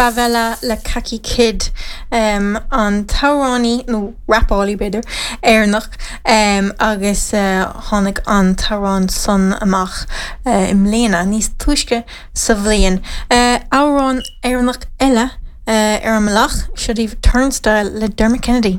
Favela le Khaki Kid, an t-amhránaí, nó rapálaí b'fhéidir, Éireannach agus tháinig an t-amhrán san amach i mbliana, níos túisce sa bhliain. Amhrán Éireannach eile ar an mbealach, seo daoibh Turnstile le Dermot Kennedy.